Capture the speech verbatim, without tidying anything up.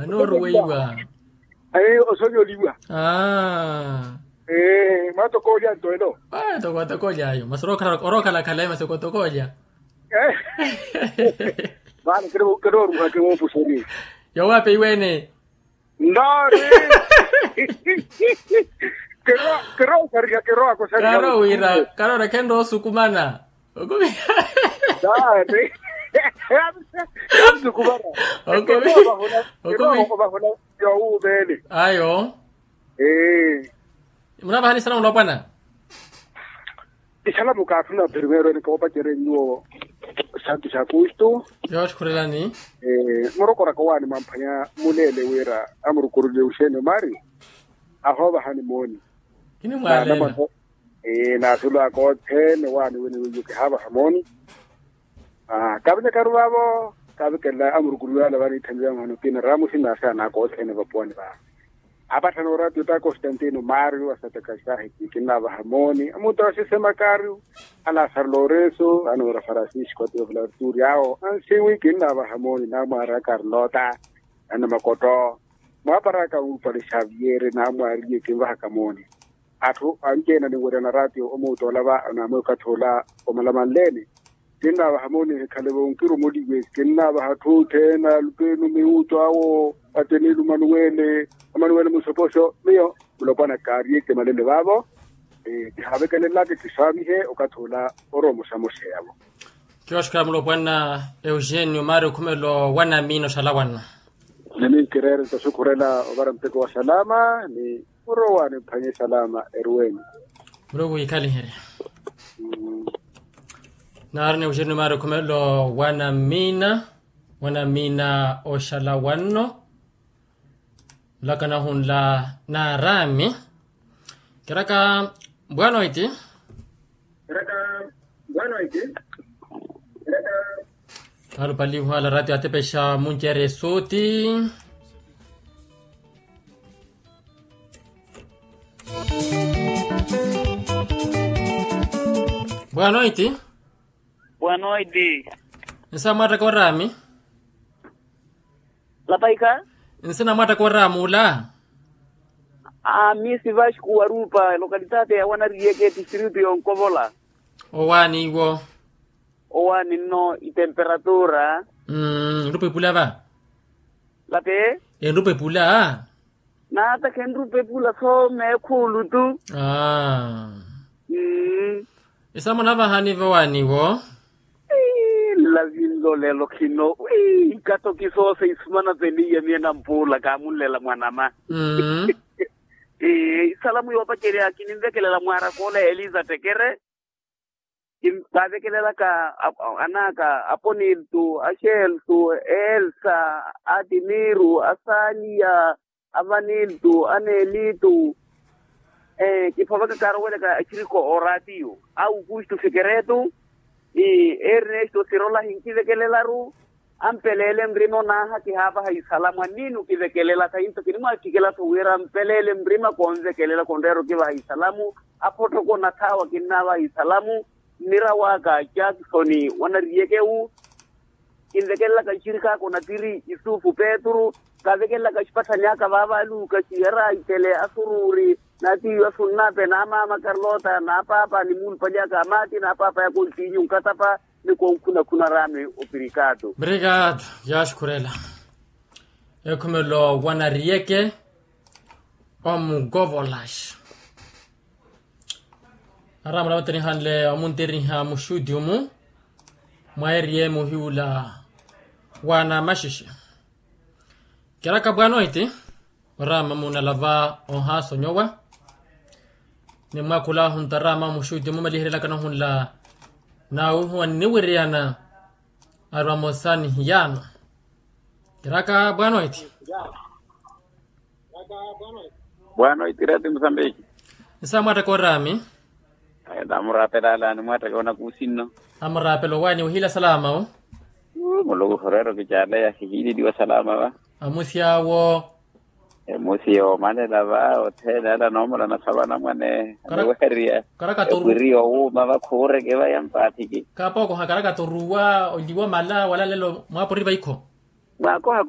Nooruweiwa. Osonyoliwa. Mwatokoolya nto elo. Tokooly'ayo masi orookhalakhalayi masi okootokoolya. Vano kinooruhake woopuxerye. Yoowaapeiwe-ene. Ntaari. Kirooxariha kirooxariha. Karoowira karoowira khenroosukumana. Okumi. Ntaari. Khansukumana. Okumi. Okumi. Ovahula. Yowuumeene. Ayo. Ee. Munavahani isalamu lopwana. Isalamu kaathuna primeiro ene koopacerya nyuwo. Santu sa kustu. Yooxukhurelani. Murokoraka owaani mwamphwanya muleele wira amurukurulye uxeeni omari. Ahoovahani mooni. Kinimwaaleela. Ee naatulwaaka othene waani wini wiiyo kihaavaha mooni. Kaavekekaru vaavo kaavekelela amurukuruwi ale vaniitthaniwa mwaha nokina ramusi naasi anaaka othene vapuwani vaavo. Apatthana oratiyo ta constantino mario asataka saahiti kinnaavaha mooni amuta wa sisema kario. Alasaro lorenso anoora francisco atiyo vula arturi awo ansiwi kinnaavaha mooni namwaari a karlota. Anamakotto. Mwaaparaka uupale xaviere namwaariye kinvahaka mooni. Atthu anci-ene aniweryana ratio omuutoolava naamweekathola omalamanle-ene. Kinnaavaha mooni ehikhale vonkirumuliwe. Kinnaavaha atthu othene alupenu miwutto awo. Atenilu manuwele. Amanuwele musopoxo miyo mulopwana kaariye kimalele vaavo. Kihaavekelelaka kisaamihe okathi ola. Orowa musamuxeyavo. Kiwaxukhela mulopwana eugenio maari okhumelo wanamina oxalawana. Ni minkireere nto xukhurela ovara mpeko wa salama ni orowa nimphanye salama eruweni. Muluku wiikhaliherye. Naari ni eugenio maari okhumelo wanamina wanamina oxalawanno. Nlaka nahunla naaraami. Kiraka bwanoiti. Alupalihu ala ratio atepexa muncerya esuti. Bwanoiti. Bwanoiti. Nsa mwaattaka oraami. Lapaika. Nsina mwaattaka oraami ula. Aami sivaxiku warupa localitate ya wanariyeke tistritu yonkovola. Owaani iwo. Owaani nno itemperatura. Nrupa epula va. Lape. Enrupa epula. Naata khenrupa epula soo meekhuulu tu. Aa. Mmm. Isamu navahani vowaani iwo. Ii nlavi nlo lelo khino ii nkatoki soose isumana peniya miye nampuula kaamunlela mwanama. Mmm. Ii isalamu yoopacerya kininvekelela mwaaraka ola eliza tekere. Kaavekelelaka anaaka aponiltu axeltu elsa, atimiru asaliya, avaniltu anelitu. Kiphovaka kaarowelaka axiriko oratiyo, aukustu sekeretu, ernesto sirolahi nkivekelelaru. Ampeleele nrima onaaha kihaavaha isalamu anniini okivekelelaka into kinimwaattikela-tho wira ampeleele nrima konvekelela konreera okivaha isalamu. Aphottoko nathaawa kinnaavaha isalamu. Nnira waka jackson wanariyekewu. Kinvekelelaka nxirikhaaka onatiri yusufu petru. Kavekelelaka axipatthani aka vaavaluka xiyara itele asuruuri. Naatiiwa sunnape naamaama karlota naapaapa ni muulupalyaka amaati naapaapa yakontiinyu nkatapa. Ni konkhunakhuna raami opirikaatu. Obrigado. Yaaxukhurela. Ekhumelo wanariyeke omukovolaxa. Araamula vattenihanle omuntiriha muxutiumu mwa eriye muhiwula. Wanamaxixe. Kiraka bwanoiti. Oraama munalava ohaasonyowa. Ni mwaakhulahu ntaraama muxuti mumaliherelaka nahunla. Naawuhuwa nniwiriyana. Arwa mosa nihiyaano. Kiraka bwanoiti. Bwanoiti rati musambiki. Nsa mwaattaka oraami. Namuraapela ala nimwaattaka onakuusi nno. Amuraapela owaani wihila salama o. Muluku oreera okicaaleya hihiileliwa salama va. Amusi awo. Emusi yoomanela va othene ala noomulana sa vanamwane aniweheriya. Epwiri yowuuma vakhuureke va yampaathiki. Kaapookoha karakata oruwa oliwa mala wala lelo mwaapori vaikho. Mwaakoha.